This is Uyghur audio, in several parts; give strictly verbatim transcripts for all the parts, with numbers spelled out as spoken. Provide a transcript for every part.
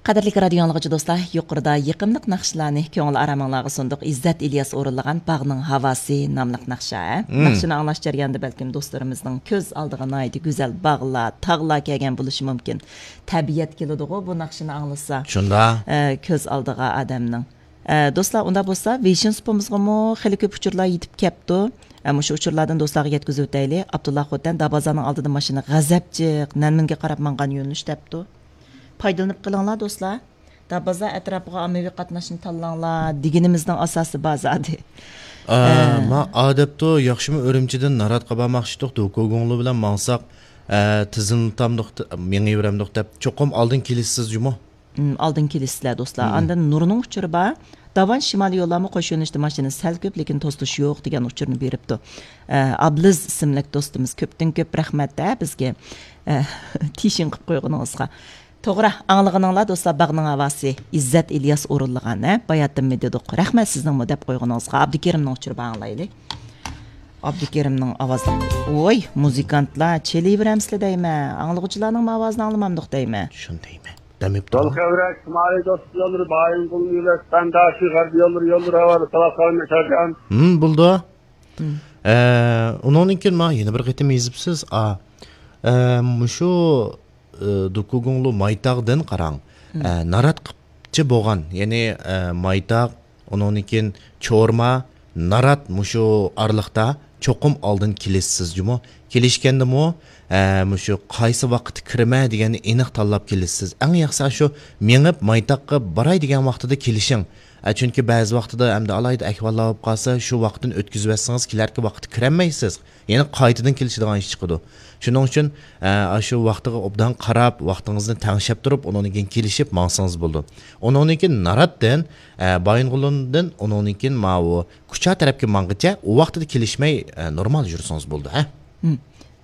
قەدىرلىك رادىيو ئاڭلىغۇچى دوستلار، يۇقىرىدا يېقىملىق ناخشىلارنى كۆڭۈل ئارامىڭلارغا سۇندۇق. ئىززەت ئىلياس ئورۇنلىغان باغنىڭ ھاۋاسى ناملىق ناخشا. مم. ناخشىنى ئاڭلاش جەريانىدا بەلكىم دوستلىرىمىزنىڭ كۆز ئالدىغا ناھايىتى گۈزەل باغلار، تاغلار كەلگەن بولۇشى مۇمكىن. تەبىئەت كېلىدىغۇ بۇ ناخشىنى ئاڭلىسا. شۇنداق. ئە، كۆز ئالدىغا ئادەمنىڭ. ئە، دوستلار، ئۇنداق بولسا ۋېيشىن سۇپىمىزغىمۇ خېلى كۆپ ئۇچۇرلار يېتىپ كەپتۇ. ئە، مۇشۇ ئۇچۇرلاردىن دوستلارغا يەتكۈزۈۋېتەيلى. ئابدۇللا خوتەن دابازانىڭ ئالدىدا ماشىنا غەزەپچىق، نەنمىنگە قاراپ ماڭغان يۆنىلىش دەپتۇ. پايدىلىنىپ قېلىڭلار دوستلار. دابازا ئەتراپىغا ئاممىۋى قاتناشنى تاللاڭلار دېگىنىمىزنىڭ ئاساسى بار زادى. ئا، ئە. ما ئادەپتۇ ياخشىمۇ ئۈرۈمچىدىن ناراتقا بارماقچىدۇق، دوكۇگۇڭلۇ بىلەن ماڭساق، ئە، تىزىملىتامدۇق، مېڭىۋېرەمدۇق دەپ چوقۇم ئالدىن كېلىسىز جۇمۇ. ئالدىن كېلىسىزلەر دوستلار. ئاندىن نۇرنىڭ ئۇچۇرى بار. داۋان شىمالىي يوللارمۇ قوش يۆنىلىشتە ماشىنا سەل كۆپ، لېكىن توسۇلۇش يوق دېگەن ئۇچۇرنى بېرىپتۇ. ئە، ئابلىز ئىسىملىك دوستىمىز كۆپتىن كۆپ رەھمەت ھە بىزگە، ئە، تىشىڭ قىپ قويغىنىڭىزغا. توغرا، ئاڭلىغىنىڭلار دوستلار، باغنىڭ ھاۋاسى، ئىززەت ئىلياس ئورۇنلىغان ھە، باياتىنمۇ دېدۇق. رەھمەت سىزنىڭمۇ دەپ قويغىنىڭىزغا. ئابدۇكېرىمنىڭ ئۇچۇرى بار، ئاڭلايلى. ئابدۇكېرىمنىڭ ئاۋازى. ۋوي، مۇزىكانتلار، چېلىۋېرەمسىلە دەيمەن. ئاڭلىغۇچىلارنىڭ ئاۋازىنى ئاڭلىمامدۇق دەيمەن. شۇنى دەيمەن. دەم يەپتۇ. يول كەۋرەك، شىمالىي دوستلار يوللىرى، بايىنغولنى يۆلەش، سەنداشى غەربىي يوللىرى، يوللىرى ھاۋالى، سالاق سالام ياشارجان. ھىم، بولدى. ھىم. ئە، ئۇنىڭدىن كېيىن ماڭا يەنە بىر قېتىم يېزىپسىز. ئا، ئە، مۇشۇ، ئە، دوكۇگۇڭلۇ مايتاغدىن قاراڭ. ھىم. ئە، نارات قىپچە بولغان، يەنى، ئە، مايتاغ، ئۇنىڭدىن كېيىن چورما، نارات مۇشۇ ئارىلىقتا چوقۇم ئالدىن كېلىشسىز جۇمۇ. كېلىشكەندىمۇ، ئە، مۇشۇ قايسى ۋاقىتتا كىرىمەن دېگەننى ئېنىق تاللاپ كېلىشسىز. ئەڭ ياخشىسى شۇ مېڭىپ مايتاغقا باراي دېگەن ۋاقتىدا كېلىشىڭ. ئە، چۈنكى بەزى ۋاقتىدا ئەمدى ئالاھىدە ئەھۋاللار بولۇپ قالسا، شۇ ۋاقىتتىن ئۆتكۈزۈۋەتسىڭىز، كېلەركى ۋاقىتتا كىرەلمەيسىز. يەنە قايتىدىن كېلىشىدىغان ئىش چىقىدۇ. شۇنىڭ ئۈچۈن، ئە، ئاشۇ ۋاقتىغا ئوبدان قاراپ، ۋاقتىڭىزنى تەڭشەپ تۇرۇپ، ئۇنىڭدىن كېيىن كېلىشىپ ماڭسىڭىز بولىدۇ. ئۇنىڭدىن كېيىن ناراتتىن، ئە، بايىنغولىندىن، ئۇنىڭدىن كېيىن ماۋۇ كۇچا تەرەپكە ماڭغىچە، ئۇ ۋاقتىدا كېلىشمەي، ئە، نورمال يۈرسىڭىز بولىدۇ، ھە؟ ھىم.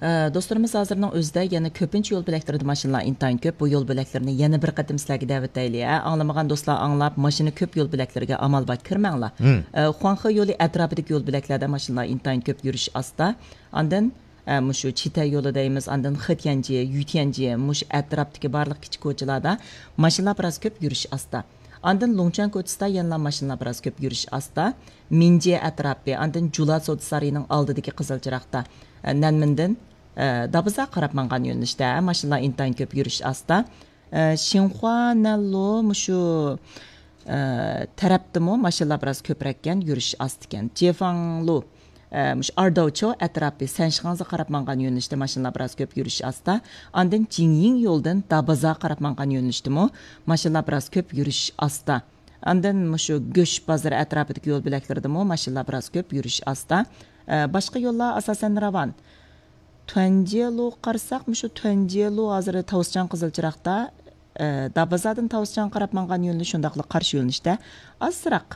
ئە، دوستلىرىمىز ھازىرنىڭ ئۆزىدە يەنە كۆپىنچە يول بۆلەكلىرىدە ماشىنىلار ئىنتايىن كۆپ. بۇ يول بۆلەكلىرىنى يەنە بىر قېتىم سىلەرگە دەۋېتەيلى، ھە؟ ئاڭلىمىغان دوستلار ئاڭلاپ، ماشىنا كۆپ يول بۆلەكلىرىگە ئامال بار كىرمەڭلار. ھىم. ئە، خۇاڭخې يولى ئەتراپىدىكى يول بۆلەكلەردە ماشىنىلار ئىنتايىن كۆپ يۈرۈش ئاستا. ئاندىن ئە، مۇشۇ چىتەي يولى دەيمىز، ئاندىن خېتيەنجيې، يۈتيەنجيې، مۇشۇ ئەتراپتىكى بارلىق كىچىك كوچىلاردا ماشىنىلار بىراز كۆپ يۈرۈش ئاستا. ئاندىن لۇڭچۈەن كوچىسىدا يەنىلا ماشىنىلار بىراز كۆپ يۈرۈش ئاستا. مىنجيې ئەتراپى، ئاندىن جۇلا سودا سارىيىنىڭ ئالدىدىكى قىزىل چىراغدا، ئە، نەنمىندىن، ئە، دابىزا قاراپ ماڭغان يۆنىلىشتە ماشىنىلار ئىنتايىن كۆپ يۈرۈش ئاستا. ئە، شىنخۇا نەنلۇ مۇشۇ، ئە، تەرەپتىمۇ ماشىنىلار بىراز كۆپرەككەن، يۈرۈش ئاستىكەن. جېفاڭلۇ، ئە، مۇشۇ ئارداۋچو ئەتراپى، سەنشىخاڭزا قاراپ ماڭغان يۆنىلىشتە ماشىنىلار بىراز كۆپ، يۈرۈش ئاستا. ئاندىن جىڭيىڭ يولىدىن دابازا قاراپ ماڭغان يۆنىلىشتىمۇ ماشىنىلار بىراز كۆپ، يۈرۈش ئاستا. ئاندىن مۇشۇ گۆش بازىرى ئەتراپىدىكى يول بۆلەكلىرىدىمۇ ماشىنىلار بىراز كۆپ، يۈرۈش ئاستا. ئە، باشقا يوللار ئاساسەن راۋان. تۇەنجيېلۇغا قارىساق، مۇشۇ تۇەنجيېلۇ ھازىر تاۋۇسچاڭ قىزىل چىراغدا، ئە، دابازادىن تاۋۇسچاڭغا قاراپ ماڭغان يۆنىلىش، شۇنداقلا قارشى يۆنىلىشتە ئازراق،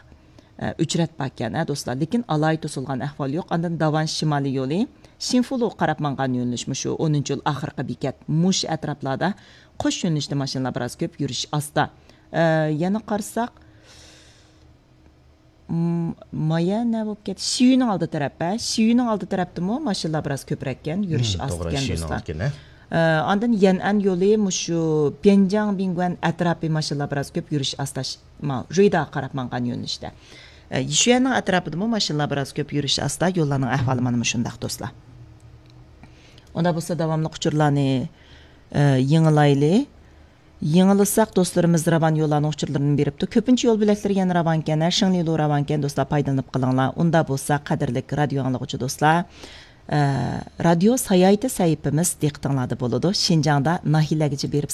ئە، ئۆچرەت باركەن، ھە، دوستلار. لېكىن ئالاھىدە توسۇلغان ئەھۋال يوق. ئاندىن داۋان شىمالىي يولى، شىنفۇلۇغا قاراپ ماڭغان يۆنىلىش، مۇشۇ ئونىنچى يول ئاخىرقى بېكەت، مۇشۇ ئەتراپلاردا قوش يۆنىلىشتە ماشىنىلار بىراز كۆپ، يۈرۈش ئاستا. ئە، يەنە قارىساق، م-، مايا نە بولۇپ كەتتى؟ شىيۈنىڭ ئالدى تەرەپ، ھە؟ شىيۈنىڭ ئالدى تەرەپتىمۇ ماشىنىلار بىراز كۆپرەككەن، يۈرۈش ئاستىكەن، دوستلار. ئە، ئاندىن يەنئەن يولى مۇشۇ بيەنجاڭ بىڭگۇەن ئەتراپى ماشىنىلار بىراز كۆپ، يۈرۈش ئاستا، ش-، ما، رۇيداغا قاراپ ماڭغان يۆنىلىشتە. ئە، يىشۈەننىڭ ئەتراپىدىمۇ ماشىنىلار بىراز كۆپ، يۈرۈش ئاستا. يوللارنىڭ ئەھۋالى مانا مۇشۇنداق، دوستلار. ئۇنداق بولسا داۋاملىق ئۇچۇرلارنى، ئە، يېڭىلايلى. يېڭىلىساق دوستلىرىمىز راۋان يوللارنىڭ ئۇچۇرلىرىنى بېرىپتۇ. كۆپىنچە يول بۆلەكلىرى يەنە راۋانكەن، ھە، شىڭلىلۇ راۋانكەن، دوستلار، پايدىلىنىپ قېلىڭلار. ئۇنداق بولسا، قەدىرلىك رادىيو ئاڭلىغۇچى دوستلار، ئە، رادىيو ساياھىتى سەھىپىمىز دىققىتىڭلاردا بولىدۇ. شىنجاڭدا ناھىيەلەرگىچە بېرىپ